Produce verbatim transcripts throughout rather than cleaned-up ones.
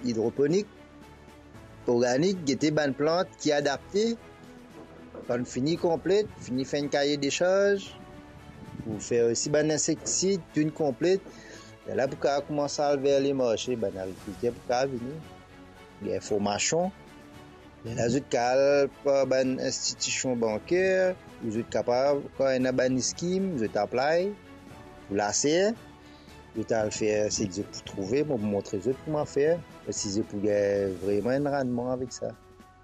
idroponik, organik, gete bann plant ki adapte. Kan fini konplet, fini fer enn kaye desarz, pou fer osi bann insektisid, tou konplet. Lerla pou kapav koumans al ver lemarse, bann agrikilter pou kapav vini, gagn formasion. Lerla zot kapav al par bann institision banker, ou zot kapav, kan ena bann skim, zot apply pou laser, zot al fer seki zot pou trouve, mo pou montre zot kouma fer, si zot pou gagn vreman enn rannman avek sa.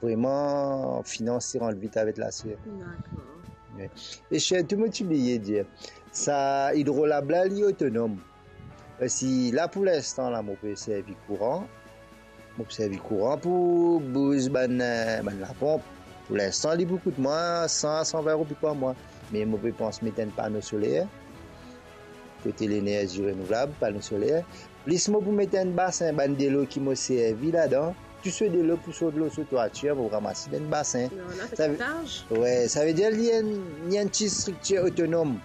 Vreman, finans ti rant vit avek laser. Dakor. Wi. E sirtou, mo ti bliye dir, sa idrolab la, li otonom. Parski la, pou linstan la, mo pe servi kouran. Mo pe servi kouran pou bouz bann, eh, bann laponp. Pou linstan, li pou kout mwa san a san vin roupi par mwa. Me mo pe pans met enn pano soler, kote lenerzi renouvlab, pano soler. Plis mo pou met enn basin, bann delo ki mo servi ladan, tou so delo pou sot lor so twatir, mo ramas dan enn basin. Non, la, sa ve-, sa ve-, wi, sa vedir li enn, li enn ti striktir otonom.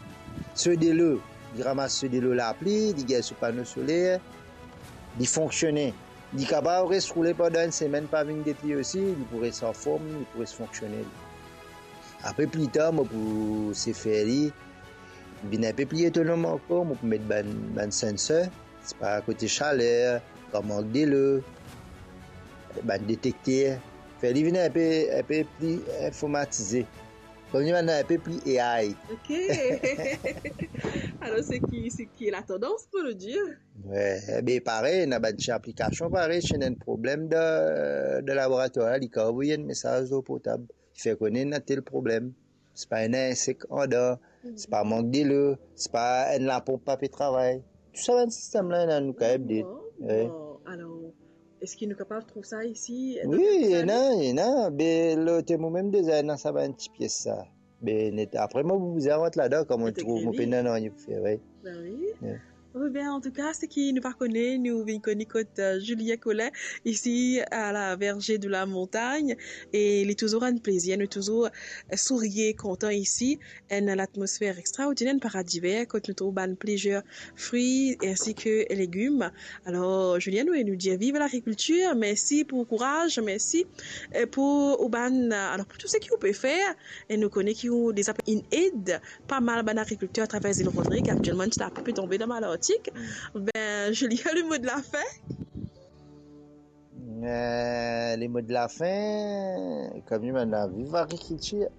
So delo, li ramas so delo lapli, li gagn so pano soler, li fonksione. Li kapav res roule pandan enn semenn, pa vinn get li osi, li pou res anform, li pou res fonksione. Apre, pli tar, mo pou se fer li vinn enn pe pli otonom ankor, mo pou met bann, bann sensor, sipa kote saler, kan mank delo, bann detekter, fer li vinn enn pe, enn pe pli informatize. Koumsa li vinn enn pe pli A I. Ok. Alor, seki, seki latandans, pou nou dir. Wi, be parey, ena bann ti aplikasion parey, si ena enn problem dan, dan laboratwar la, li kapav avoy enn mesaz lor portab, fer kone ena tel problem. Sipa ena insek andan, sipa mank delo, sipa enn laponp pa pe travay. Tou sa bann sistem la, ena nou kapav ede. Bon, wi. Bon, alor, eski nou kapav trouv sa isi, dan... Wi, ena, ena. Be, lor mo mem deza ena sa bann ti pies sa. Be, net. Apre, mo pou bizin rant ladan, kan mo trouv, mo pena nanye pou fer, wi. Ben wi. Wi. Wi, ben, antouka, seki nou pa kone, nou vinn kone kot, eh, Julien Collet, isi, a la Verger de la Montagne, e li touzour enn plezir, nou touzour, eh, sourir, kontan isi, enn latmosfer extraordiner, enn paradi ver, kot nou trouv bann plizier fri, ensi ke legim. Alor, Julien, nou, nou dir viv lagrikiltir, mersi pou kouraz, mersi, eh, pou ou bann, eh, alor, pou tou seki ou pe fer, e nou kone ki ou deza inn ed pa mal bann agrikilter atraver Zil Rodrig. Aktielman, ti lapli pe tonbe dan Malartik. Mm. Ben, Julien, le mo de la fin? Eh, le mo de la fin, kouma nou viv agrikiltir.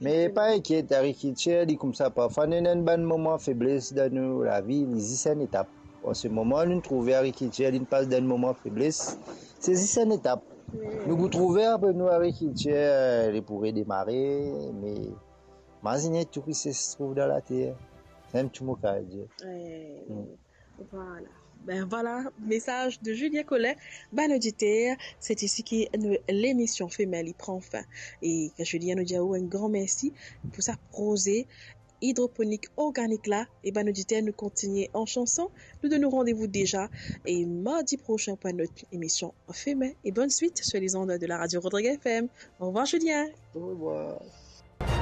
Me pa inkiet, agrikiltir, li koumsa, parfwa nou ena enn bann moman febles dan nou lavi, li zis enn etap. An se moman, nou trouve agrikiltir, li pas dan enn moman febles, se zis enn etap. Wi. Nou pou trouve apre nou agrikiltir, eh, li pou redemare, me mazinn tou ki se trouv dan later. Sa enn ti mo kapav dir. Wi. Mm. Vwala. Ben vwala, mesaz de Julien Collet. Bann oditer, se isi ki nou lemision Femen li pran fin. E Julien, nou dir ou enn gran mersi pou sa proze idroponik organik la. E bann oditer, nou kontinie an sanson. Nou donn ou randevou deza e mardi prosin pou enn lot emision Femen. E bonn swit sur les ondes de la radio Rodrigue F M. Au revoir, Julien. Au revoir.